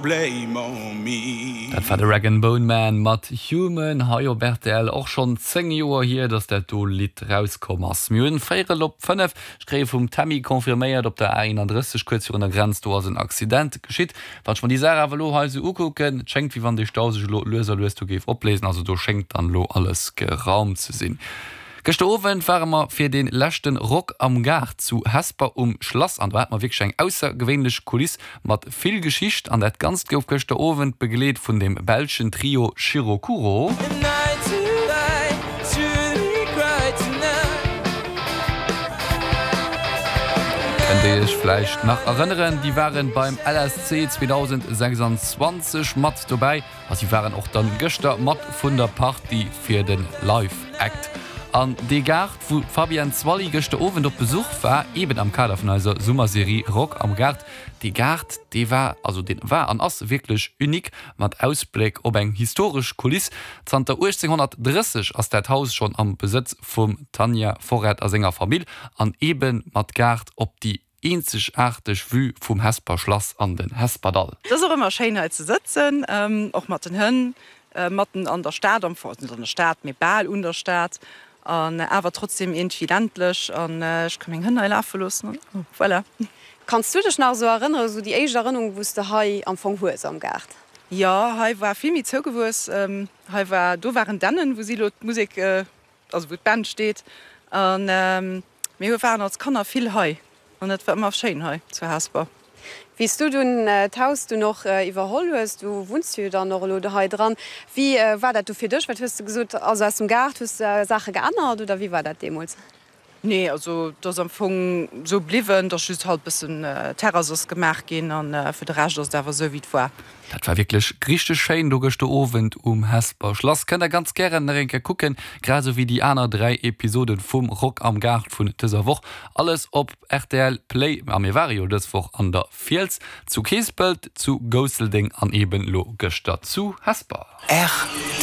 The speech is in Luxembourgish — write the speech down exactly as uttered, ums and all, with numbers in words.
Blame on me. Dat war de Rag'n'Bone Man mat Human hei op rtl och schonn zéng Joer hier, dass dat do Lidd rauskomm ass. Mir hunn véierel op fënnef. Ech kréie vum Tammy confirméiert, op der A eenandrësseg kuerz virun der Grenz do ass en Accident geschitt. Wann ech mer déi Saach awer elo hei esou ukucken, et schéngt wéi wann dee Stau sech elo lues a lues do géif opléisen. Also do schéngt dann elo alles geraumt ze sinn. Gëschter Owend ware mer fir dee leschten Rock am Gaart zu Hesper um Schlass an do hate mer wierklech eng aussergewéinlech Kuliss mat vill Geschicht an dat Ganzt gouf gëschter Owend begleet vun dem belschen Trio Shirokuro. Kënnt Dir Iech vläicht nach erënneren, déi waren beim L S C zweedausendsechsanzwanzeg mat dobäi a si waren och dann gëschter mat vun der Partie fir den Live Act. An dee Gaart, wou d'Fabienne Zwally gëschter Owend op Besuch war, eben am Kader vun eiser Summerserie Rock am Gaart, dee Gaart, dee war, also dee war an ass wierklech unique, mat Ausbléck op eng historesch Kuliss. Zanter uechtzénghonnertdrësseg ass dat Haus schonn am Besëtz vum Tanja Forret a senger Famill, an eben mat Gaart op déi eenzegaarteg Vue vum Hesper Schlass an den Hesperdall. Et ass och ëmmer schéin hei ze sëtzen, och mat den Hënn, matten an der Stad, am Fong, net an der Stad, mee bal un der Stad, an awer trotzdem iergendwéi ländlech, an ech ka meng Hënn hei lafe loossen an voilà. Kanns du dech nach esou erënneren, esou déi éischt Erënnerung, wou s de hei am Fong hues am Gaart? Jo, hei war vill méi zougewuess. Hei war, do waren Dännen, wou si elo d'Musek, also wou d'Band steet. An mir hu waren als Kanner vill hei an et war ëmmer schéin hei zu Hesper. Wéi s du dunn d'Haus dunn och iwwerholl hues, du wunns jo dann och elo hei dran, wéi war dat du fir dech? Wat hues de gesot? Also aus dem Gaart, hues de Saache geännert oder wéi war dat deemools? Nee, also et ass am Fong esou bliwwen, et ass just halt bëssen Terrass ass gemaach ginn an fir de Rescht ass et awer esou wéi et war. Dat war wierklech richteg schéin do gëschter Owend um Hesper Schlass. Kënnt der ganz gären nach eng Kéier kucken, grad esou wéi déi aner dräi Episoden vum Rock am Gaart vun dëser Woch. Alles op rtl Play. A mir ware jo dës Woch an der Fiels, zu Keespelt, zu Gousseldeng an eben lo gëschter zu Hesper. R T.